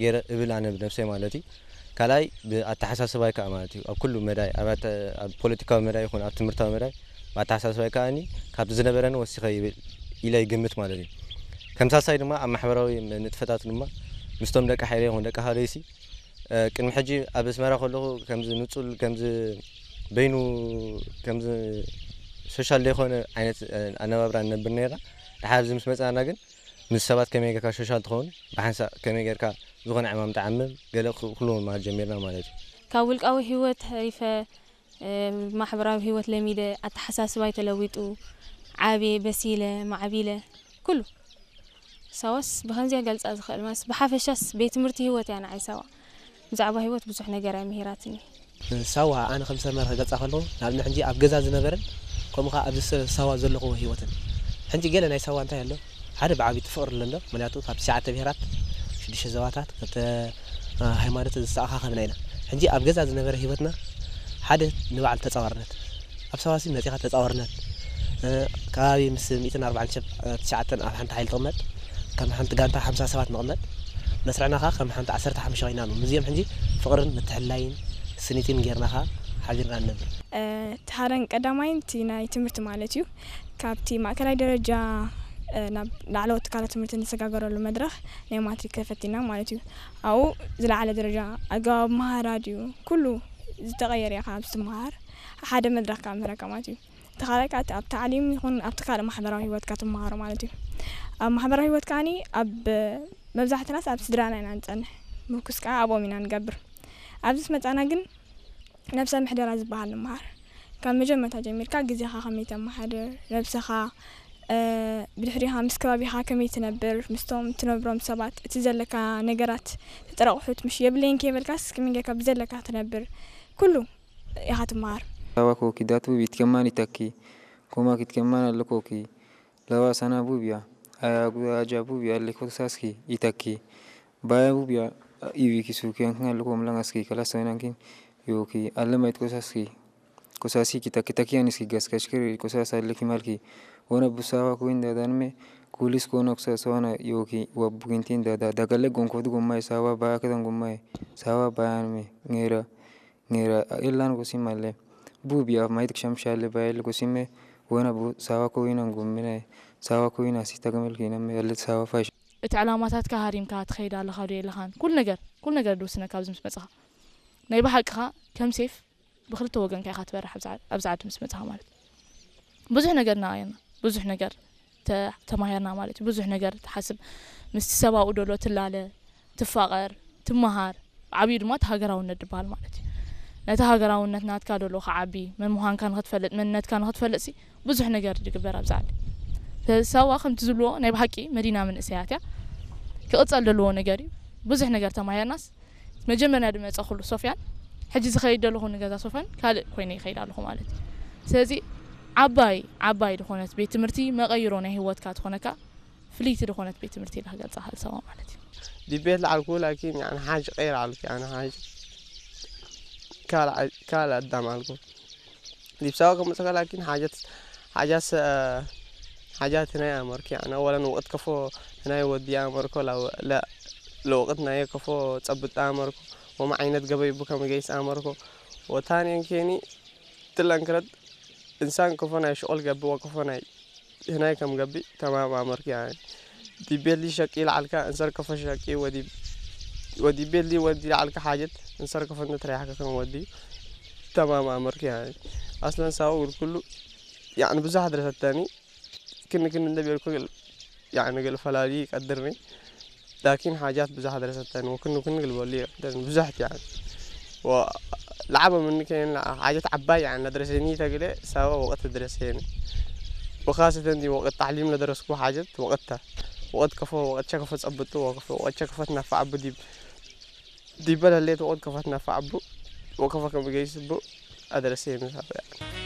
ገይረ እብል ኣነ ብነብሰይ ማለት እዩ። ካልኣይ ብኣተሓሳስባይ ከኣ ማለት እዩ። ኣብ ኩሉ መዳይ፣ ኣብ ኣተ-፣ ኣብ ፖለቲካዊ መዳይ ይኹን ኣብ ትምህርታዊ መዳይ ብኣተሓሳስባይ ከኣኒ ካብቲ ዝነበረኒ ወሲኸ ይብል ኢለ ይግምት ማለት እዩ። ከምሳሳይ ድማ ኣብ ማሕበራዊ ንጥፈታት ድማ ምስቶም ደቂ ሓይለ ይኹን ደቂ ሃለይሲ፣ እ፣ ቅድሚ ሕጂ ኣብ ኣስመራ ከለኹ ከምዚ ንጹል፣ ከምዚ በይኑ፣ ከምዚ ሶሻል ዘይኮነ ዓይነት፣ እ፣ ኣነባብራ ንነብር ነይርና። ድሓር ኣብዚ ምስ መጻና ግን ምስ ሰባት ከመይ ጌርካ ሶሻል ትኸውን፣ ብሓንሳእ ከመይ ጌርካ ዝኾነ ዕማም ትዓምም፣ ገለ ክ-፣ ኩሉ ምምሃር ጀሚርና ማለት እዩ። ካብ ውልቃዊ ህይወት ተሪፈ፣ እ፣ ማሕበራዊ ህይወት ለሚደ፣ ኣተሓሳስባይ ተለዊጡ፣ ዓብየ፣ በሲለ፣ ማዕቢለ፣ ኩሉ። ሳዋስ ብኸምዚያ ገልጻ ዝኽእል ማስ፣ ብሓፈሻስ ቤት ትምህርቲ ህይወት እያ ንዓይ ሳዋ። ብዛዕባ ህይወት ብዙሕ ነገር እያ ምሂራትኒ። ሳዋ ኣነ ከም ሰብ መርህ ክገልጻ ከለኹ፣ ንኣብነት ሕጂ ኣብ ገዛ ዝነበረን፣ ከምኡ ከኣ ኣብዚ ሰ-፣ ሳዋ ዘለኹዎ ህይወትን። ሕጂ ገለ ናይ ሳዋ እንታይ ኣሎ? ሓደ ብዓቢቱ ፍቕሪ ኣሎ እንዶ፣ ምኽንያቱ ካብ ትሽዓተ ብሄራት፣ ሽዱሽተ ዞባታት፣ ክልተ፣ እ፣ ሃይማኖት ዝተኣኻኸብና ኢና። ሕጂ ኣብ ገዛ ዝነበረ ህይወትና ሓደ ንባዕሉ ተጻዋርነት። ኣብ ሳዋሲ መጺኻ ተጻዋርነት፣ እ፣ ከባቢ ምስ ሚእትን ኣርባዓን ሸብ-፣ እ፣ ትሽዓተን ኣብ ሓንቲ ሓይሊ ትቕመጥ፣ ከም ሓንቲ ጋንታ ሓምሳ ሰባት ንቕመጥ፣ መስርዕና ከኣ ከም ሓንቲ ዓሰርተ ሓሙሽተ ኮይና ኣሎ። ምስዚኦም ሕጂ ፍቕርን ምትሕልላይን ስኒትን ጌርና ከኣ ሓቢርና ንነብር። እ፣ እቲ ሓደን ቀዳማይን እቲ ናይ ትምህርቲ ማለት እዩ። ካብቲ ማእከላይ ደረጃ፣ እ፣ ናብ ላዕለዎት ትካላት ትምህርቲ እንሰጋገረሉ መድረኽ ናይ ማትሪክ ተፈቲና ማለት እዩ። ኣብኡ ዝለዓለ ደረጃ ኣገባብ ምሃራ ድዩ፣ ኩሉ ዝተቐየረ እያ ካብ ዝትምሃር። ሓደ መድረኽ ካብ ምህረካ ማለት እዩ። እቲ ካልኣይ ከኣ እቲ ኣብ ታዕሊም ይኹን ኣብቲ ካልእ ማሕበራዊ ህይወትካ ትመሃሮ ማለት እዩ። ኣብ ማሕበራዊ ህይወት ከኣኒ ኣብ መብዛሕትናስ ኣብ ስድራና ኢና ንጸንሕ። ምርኩስ ከኣ ኣብኦም ኢና ንገብር። ኣብዚ ምስ መጻና ግን ነብሰ ምሕደራ ዝበሃል ንምሃር። ካብ መጀመርታ ጀሚርካ ግዜኻ ከመይ ተመሓድር፣ ነብስኻ፣ እ፣ ብድሕሪኻ ምስ ከባቢኻ ከመይ ትነብር፣ ምስቶም ትነብሮም ሰባት፣ እቲ ዘለካ ነገራት፣ ተጠረቑሑት፣ ምሽ የብለይን ከይበልካስ ከመይ ጌርካ ብዘለካ ትነብር፣ ኩሉ ኢኻ ትመሃር። Sawa koki datu bit kemani taki. Koma kit kemana lokoki. Lawa sana bubia. Aya guda aja bubia le kosaski itaki. Baya bubia iwi kisu ki ankin aluko mlangaski kala soinankin yoki. Alema it kosaski. Kosaski kita kita ki aniski gas kashkiri kosasa leki malki. Wana busawa kuin dadan me kulis kona kusasa wana yoki wa bugintin dada. Dagale gonkodu gomai sawa baya kedan gomai. Sawa bayan me ngera. Ngera elan gosim ale. Bu bia maid ksham shale bael gosime. Wena bu sawa ko inan gumine. Sawa ko ina sita gamel kina me ale sawa fash. እቲ ዕላማታትካ ሃሪምካ ትኸይድ ኣለኻ ዶ የለኻን? ኩሉ ነገር፣ ኩሉ ነገር ድውስነካ ኣብዚ ምስ መጽኻ። ናይ ብሓቅኻ ከም ሴፍ ብኽልተ ወገንካ ኢኻ ትበርሕ ኣብዚ ዓ-፣ ኣብዚ ዓዲ ምስ መጽኻ ማለት። ብዙሕ ነገር እናቐየርና፣ ብዙሕ ነገር ተ-፣ ተማሂርና ማለት እዩ። ብዙሕ ነገር ትሓስብ፣ ምስቲ ሰብኣዊ ደሎ ትላለ፣ ትፋቐር፣ ትመሃር። ዓብዩ ድማ እቲ ሃገራውነት ዝበሃል ማለት እዩ። ነቲ ሃገራውነት ናትካ ደሎ ክዓቢ፣ መን ምዃንካ ንኽትፈልጥ፣ መንነትካ ንኽትፈልጥ ሲ ብዙሕ ነገር ዝግበር ኣብዚ ዓዲ። ስለዚ ሳዋ ከምቲ ዝብልዎ ናይ ብሓቂ መዲና መንእሰያት እያ። ክቕጸል ዘለዎ ነገር እዩ። ብዙሕ ነገር ተማሂርናስ መጀመርያ ዝመጸ ኩሉ ሶፍያን፣ ሕጂ ዝኸይድ ዘለኹ ንገዛ ሶፍያን ካልእ ኮይነ ይኸይድ ኣለኹ ማለት እዩ። ስለዚ ዓባይ፣ ዓባይ ዝኾነት ቤት ትምህርቲ መቐይሮ ናይ ህይወትካ ትኾነካ ፍልይቲ ዝኾነት ቤት ትምህርቲ ኢለ ክገልጻ ክእል ሳዋ ማለት እዩ። ዲቤት ለዓልኩ ላኪን ያኒ ሓጅ ቀይር ዓልኩ ያኒ ሓጅ ካልእ፣ ካልእ ኣዳም ኣልኩ። ዲብሳዋ ከመጽካ ላኪን ሓጀት፣ ሓጃት፣ ሓጃት ናይ ኣመርኩ ያኒ ወለን ወቅት ከፎ ናይ ወዲ ኣመርኮ ላ፣ ላ፣ ለወቅት ናይ ከፎ ጸብጣ ኣመርኮ ወማ ዓይነት ገበይ ቡ ከመ ገይስ ኣመርኮ ወታን የንኬኒ ትለን ክረት እንሳን ከፎ ናይ ሽቆል ገብ ወከፎ ናይ ህናይ ከም ገብእ ተማም ኣመርክ ያኒ። ዲቤሊ ሸቂ ለዓልካ እንሰር ከፎ ሸቂ ወዲ፣ ወዲ ቤሊ ወዲ ለዓልካ ሓጀት እንሰር ከፎ እንተ ተረያሕካ ከም ወዲ ተማም ኣመርክ ያኒ። ኣስለን ሳው ግል ኩሉ ያኒ ብዙሕ ድረሰተኒ ክን ክን እንደ ቤልኩ ግል ያኒ ግል ፈላሊ ቀድርኒ። ላኪን ሓጃት ብዙሕ ድረሰተኒ ወክን ክን ግል በሊ ቀድርኒ ብዙሕ ያኒ። ወ-፣ ለዓበ ምን ከየን ሓጀት ዓባይ ያኒ ለድረሰኒ ተግለ ሳዋ ወቅት ድረሰኒ። ወኻሰተን ዲ ወቅት ታዕሊም ለደረስኩ ሓጀት ወቅታ። ወቅት ከፎ፣ ወቅት ሸከፎ ጸብጡ፣ ወቅት ሸከፎ ትነፋ ዓቡ ዲብ፣ ዲበ ለሌት ወቅት ከፎ ትነፋ ዓቡ፣ ወከፎ ከም ገይስ ቡ ኣደረሰኒ ሳዋ ያኒ።